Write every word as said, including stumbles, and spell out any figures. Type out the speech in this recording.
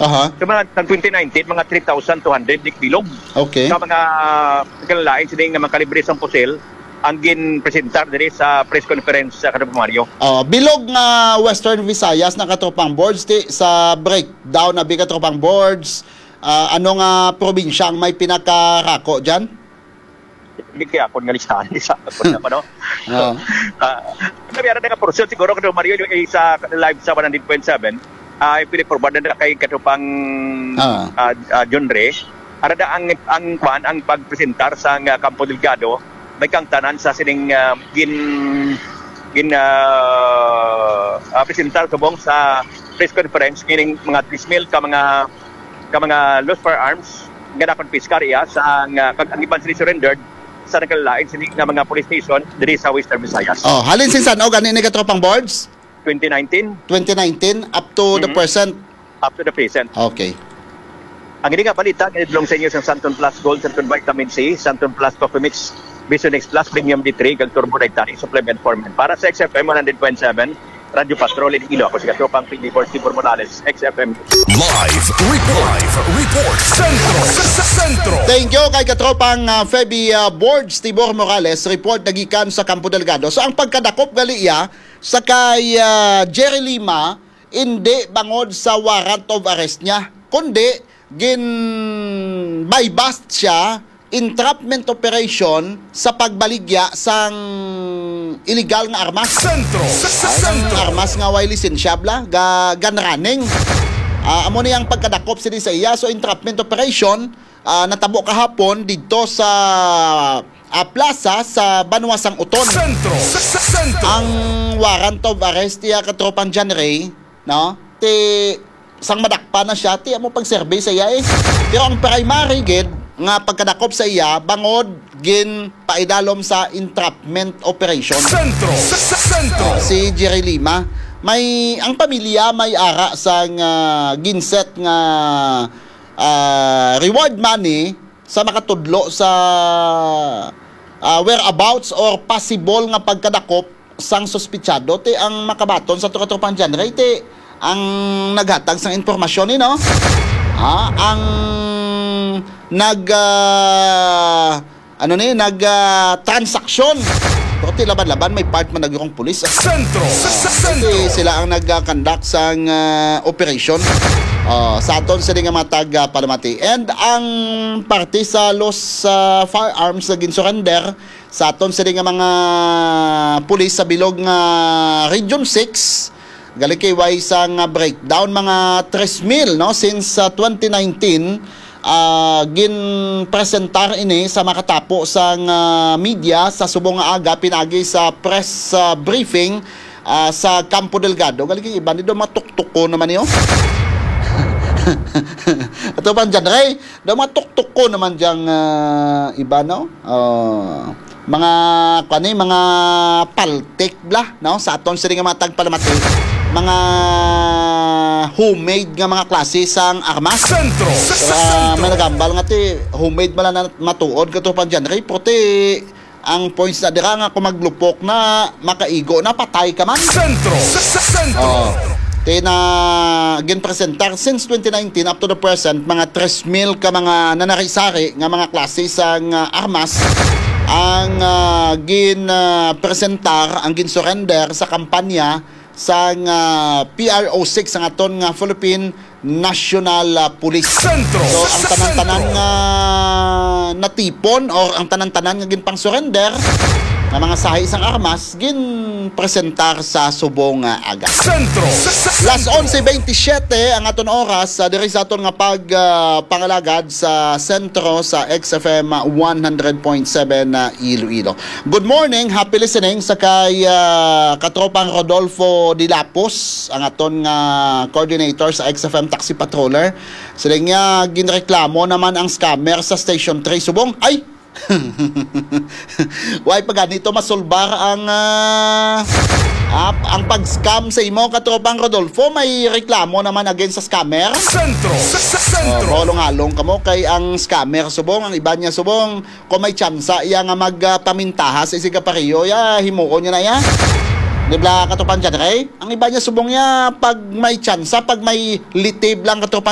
Aha. Sa mga, sa twenty nineteen, mga three thousand two hundred di bilog. Okay. Sa mga, sa lain, sini nga mga kalibre sang pusil, ang ginpresentar diri sa press conference sa Katropang Mario. Oh, bilog nga Western Visayas na, Katropang Bords, ti sa breakdown na bi, Katropang Bords, ah, ano nga probinsya ang may pinakarako dyan? Hindi kaya ako nga listahan, isa ako na pa, no? Oo. Ah, sabi, ara na nga portion, siguro, Katropang Mario, yung isa live sa one hundred point seven, ah, yung pili-forward na kay Katropang, Ah. ah, ah, John Ray. Ara na ang, ang, kwan, ang pagpresentar sa nga Campo Delgado, may kangtanan sa sining, ah, gin-, gin-, ah, ah, presentar subong sa press conference, kining mga three mil ka mga, ka mga loose firearms nga nakonpiskar iya sa, nga, kag ang iban sila surrendered sa nagkalain sini nga mga police station diri sa Western Visayas. Oh, halin sin san-o gani ni, Katropang Bords? Twenty nineteen. Twenty nineteen up to the Mhm. present. Up to the present. Okay. Ang ini nga balita ginidulong sa inyo sa Santon Plus Gold, Santon Vitamin C, Santon Plus Coffee Mix, Vision X Plus Premium D three, kag Turbo Dietary Supplement for Men. Para sa X F M one hundred point seven, Radyo Patrol Iloilo. Ako si Katropang P D Force Tibor Morales, X F M. Live report. Live report. Sentro. Sa, sa Sentro. Thank you kay Katropang, ah, Feby, ah, Borge Tibor Morales. Report nagikan sa Campo Delgado. So, ang pagkadakop gali iya sa kay, ah, Jerry Lima, hindi bangod sa warrant of arrest niya, kundi gin-buy-bust siya, entrapment operation sa pagbaligya sang illegal nga armas. Sentro. Sa, sa Ay, Sentro. Armas nga way lisensya, bla, ga, gun running. Ah, amo ni ang pagkadakop sini sa iya. So, entrapment operation, ah, natabo kahapon didto sa, ah, plaza sa Banwa sang Uton. Sentro. Sa, sa Sentro. Ang warrant of arrest niya, Katropang John Ray, no? Ti, sang madakpan na siya, ti amo pag-serve sa iya, eh. Pero ang primary gid nga pagkadakop sa iya, bangod ginpaidalom sa entrapment operation. Sentro. Sa, sa Sentro. Ah, si Jerry Lima, may, ang pamilya may ara sang, ah, ginset nga, ah, reward money sa makatudlo sa, ah, whereabouts or possible nga pagkadakop sang suspitsado. Ti ang makabaton sa Katropang John Ray, ti ang naghatag sang impormasyon ni, no? Ha? Ang nag, ah, ano ni, nag, ah, transaksyon. Pero ti laban-laban, may part man nagurong pulis. Sentro. Sa, sa Sentro. Ti sila ang nag-conduct sang, ah, operation. Ah, sa aton sini nga mga tag, ah, palamati. And ang parte sa loose, ah, firearms na gin-surrender sa aton sini nga mga pulis sa bilog nga Region six, gali kay way sang breakdown, mga tres mil, no, since, ah, twenty nineteen, ah, ginpresentar ini sa makatapo sang, ah, media sa subong nga aga, pinagi sa press, ah, briefing, ah, sa Campo Delgado. Gali kay iban ni do matuktuko naman niyo. Ato pa dyan, Ray. Daw mga tuktok ko naman diyang, ah, iba, no? Ah, mga, kuwan ni, mga paltik bla, no? Sa aton sini nga mga tagpalamati, mga homemade nga mga klase sang armas. Sentro. Pero, ah, may nagambal nga ti homemade man lang na matuod, Katropang John Ray, puti ang points na dira nga kung maglupok na, makaigo na, patay ka man. Sentro. Sa, sa sentro. Oh. Kay na ginpresentar since twenty nineteen up to the present, mga tres mil ka mga nanari-sari nga mga klase sang, ah, armas ang, ah, gin, ah, presentar, ang gin-surrender sa kampanya sang, ah, P R O six, ang aton nga Philippine National, ah, Police. Sentro. So, ang tanan-tanan nga natipon or ang tanan-tanan nga ginpang-surrender nga mga sahi sang armas, ginpresentar sa subong nga aga. Sentro. Las onse veintisiete ang aton oras, ah, diri sa aton nga pag, ah, pangalagad sa sentro sa X F M one hundred point seven na Iloilo. Good morning, happy listening sa kay, ah, Katropang Rodolfo Dilapos, ang aton nga coordinator sa X F M Taxi Patroller. Sila niya, ginreklamo naman ang scammer sa Station three. Subong, ay! Why pa ganito masulbar ang, ah, ap-, ang pag-scam sa imo, Katropang Rodolfo? May reklamo naman against sa scammer? Sentro. Sa, sa sentro. Oh, maulong-along kamo kay ang scammer subong, ang iba niya subong, kung may tsansa iya nga magpamintaha sa isig kapareho, ya, himuon niya na ya. Di ba, Katropang John Ray? Ang iba niya subong niya, pag may tsansa, pag may litib lang, Katropang